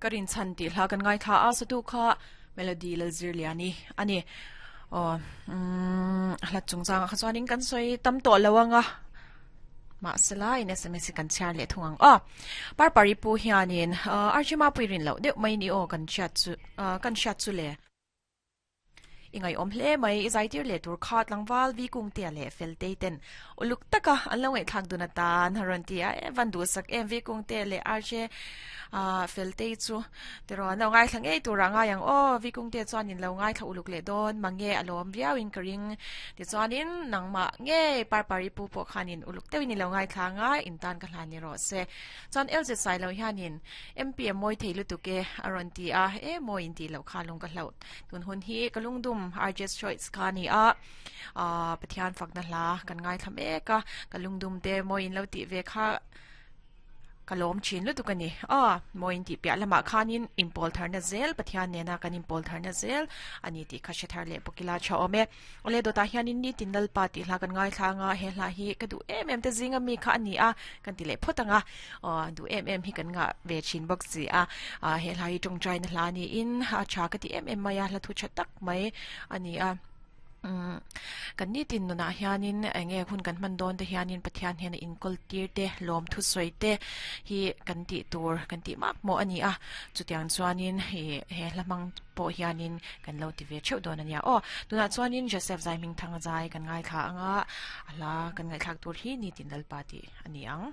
Ka rinchhan tih hla kan ngaithla a, satu kha Melody Lalzirliani a ni. Aw umm hla chungchangah kha chuanin kan sawi tam tawh lo ang a, mahsela in sms hi kan chhiar leh thung ang aw. Parpari pu hianin Archima pui rin loh deuh mai ni aw kan hriat chu kan hriat chu le. I ngaihawm hle mai, i zaitir leh tur kha tlangval vi kungtea leh Feltei ten uluk taka an lo ngaihthlak dun atan a rawn ti a, e van duhsak em vi kungtea leh RJ Feltei chu tiraw an lo ngaithla ngei turah ngai ang aw, vi kungtea chuan in lo ngaithla uluk leh dawn mange a lawm viau in ka ring tichuanin nangmah ngei Parpari pu pawh khanin uluk deuhin i lo ngaithla anga in tan ka hlan ni rawh se. Chuan LZ Sailo hianin MP a mawi thei lutuk e a rawn ti a, e mawi in tih loh kha lung ka hlauh. Tun hun hi ka lungdum RJ's Choice kha a ni a, aah Pathian fakna hla kan ngaithla mek a, ka lungdum te mawi in lo tih ve kha ka lawm thin lutuk a ni. Aw mawi in tih piah lamah khanin inpawl tharna zel Pathian nena kan inpawl tharna zel a ni tih kha hre thar leh bawk ila tha awm e. Awle dawtah hianin nitin Lalpa tih hla kan ngaithla anga he hla hi ka duh em em te zinga mi kha a ni a kan ti leh phawt anga aw duh em em hi kan ngah ve thin bawk si a ah he hla hi tawngtaina hla niin a tha ka ti em em mai a hla thu tha tak mai a ni a umm kan nitin nunah hianin eng nge hun kan hman dawn te hianin Pathian hian a inkawl tir te lawm thusawi te hi kan tih tur kan tih mak mawh a ni a chutiang chuanin ih he hla hmang pawh hianin kan lo ti ve theuh dawn a nia aw. Tunah chuanin Joseph Zaihmingthanga zai kan ngaithla anga a hla kan ngaihthlak tur hi Nitin Lalpa tih a ni ang.